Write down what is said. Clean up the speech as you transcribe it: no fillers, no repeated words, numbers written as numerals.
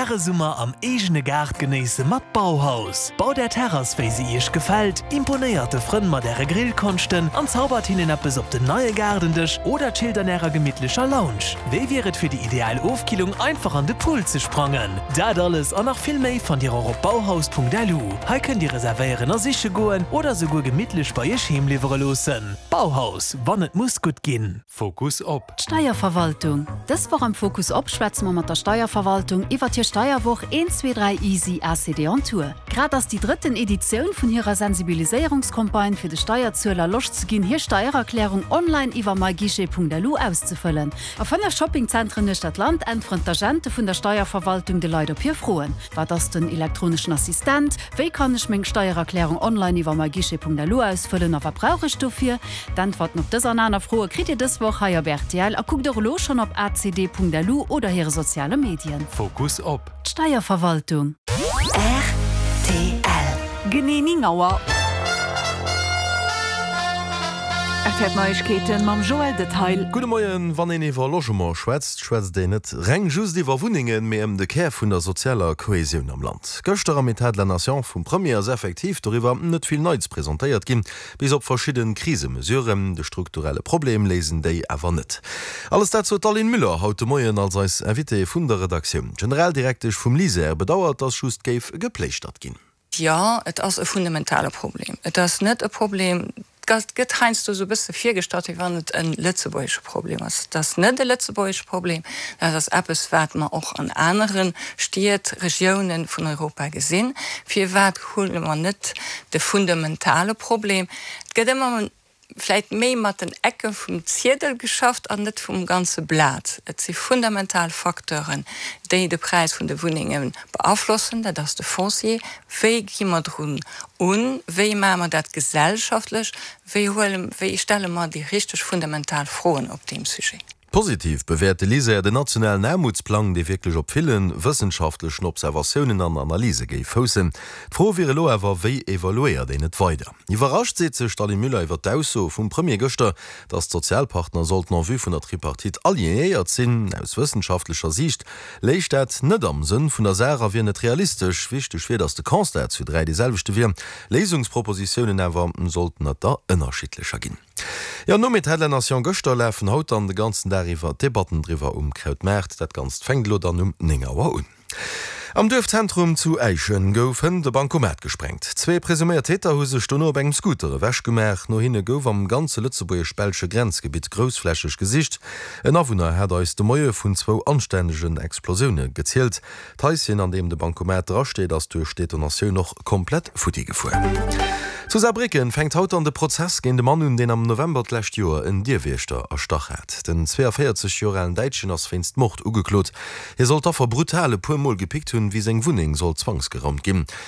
Äre Summer am eegene Gaart genéisse mat Bauhaus. Baut Är Terrass wéi se Iech gefält, imponéiert de Frënn mat Äre Grillkonschten an zaubert hinnen eppes op den neie Gaardendësch oder chillt an Ärer gemittlecher Lounge. Wéi wier et fir déi ideal Ofkillung einfach an de Pool ze sprangen? Dat alles an nach vill méi fannt Dir och op bauhaus.lu. Hei kënnt Dir reservéieren a siche goen oder souguer gemittlech bei Iech heem liwwere loossen. Bauhaus, wann et muss gutt ginn. Fokus op. D'Steierverwaltung. Dës Woch am Fokus op schwätze mer mat der Steierverwaltung iwwert hir Steierwoch 1, 2, 3 Easy ACD on Tour. Grad ass déi drëtten Editioun vun hirer Sensibiliséierungscampagne fir de Steierzueler Loscht ze ginn hir Steiererklärung online iwwer myguichet.lu auszefëllen. A 5 Shoppingzentren uechter d'Land äntweren d'Agente vun der Steierverwaltung de Leit op hir Froen. Wat ass den elektroneschen Assistent? Wéi kann ech meng Steiererklärung online iwwer myguichet.lu ausfëllen a wat brauch ech dofir? D'Äntwerten op dës an aner Froe kritt Dir dës Woch hei op rtl a kuckt och elo schonn op acd.lu oder hire soziale Medien. Fokus op. D'Steierverwaltung. Rtl. Genee 9 Auer. Rtl Neiegkeeten mam Joël Detail. Gudde Moien. Wann een iwwer Logement schwätzt, schwätzt een net reng just iwwer Wunnengen, mee ëm de Kär vun der sozialer Kohesioun am Land. Gëschter am Etat de la Nation vum Premier ass effektiv doriwwer net vill Neits presentéiert ginn. Bis op verschidde Krisemesuren. De strukturelle Problem léisen déi awer net. Alles dat sot d'Aline Müller haut de Moien als eis Invitée vun der Redaktioun. D'Generaldirektesch vum LISER bedauert, datt just géif gepléischtert ginn. Jo, et ass e fundamentale Problem. Et ass net e Problem, et gëtt heiansdo esou e bësse virgestallt, wéi wann et e lëtzebuergesche Problem ass. Et ass net e lëtzebuergesche Problem, dat ass eppes, wat mer och an anere Stied, Regiounen vun Europa gesinn. Firwat huele mer net de fundamentale Problem? Et gëtt ëmmer vläit méi mat den Ecke vum Ziedel geschafft an net vum ganze Blat. Et si fundamental Facteuren, déi de Präis vun de Wunnenge beaflossen. Dat ass de Foncier. Wéi gi mer drun un? Wéi maache mer dat gesellschaftlech? Wéi huele, wéi stelle mer déi richteg fundamental Froen op deem Sujet? Positiv bewäert de LISER den nationalen Aarmutsplang, dee wierklech op ville wëssenschaftlechen Observatiounen an Analyse géif foussen. D'Fro wier elo awer, Wéi evaluéiert een et weider? Iwwerrascht seet sech d'Aline Müller iwwer d'Ausso vum Premier gëschter, datt d'Sozialpartner sollten en vue vun der Tripartite alignéiert sinn. Aus wëssenschaftlecher Siicht léich dat net am Sënn vun der Saach a wier net realistesch. Wichteg wier, datt de Constat zu 3 dee selwechte wier, Léisungspropositiounen awer sollten et der ënnerschiddlecher ginn. Jo, nom Etat de la Nation gëschter lafen haut dann de ganzen Dag iwwer d'Debatten driwwer um Krautmaart. Dat Ganzt fänkt elo dann um 9 Auer un. Am Duerfzentrum zu Äischen gouf hënt e Bankomat gesprengt. Zwee presuméiert Täter hu sech dono op engem Scooter ewech gemaach. No hinne gouf am ganze lëtzebuergesch-belsche Grenzgebitt groussflächeg gesicht. En Awunner hat eis de Moie vun zwou anstännegen Explosioune gezielt. D'Haischen, an deem de Bankomat drasteet, ass duerch d'Detonatioun och komplett futti gefuer. Zu Saarbrécken fänkt haut dann de Prozess géint e Mann un, deen am November d'lescht Joer en Dierwiechter erstach hat. Den 42 Joer alen Däitschen ass wéinst Mord ugeklot. Hie soll d'Affer brutal e puer Mol gepickt hunn, wéi seng Wunneng sollt zwangsgeraumt ginn.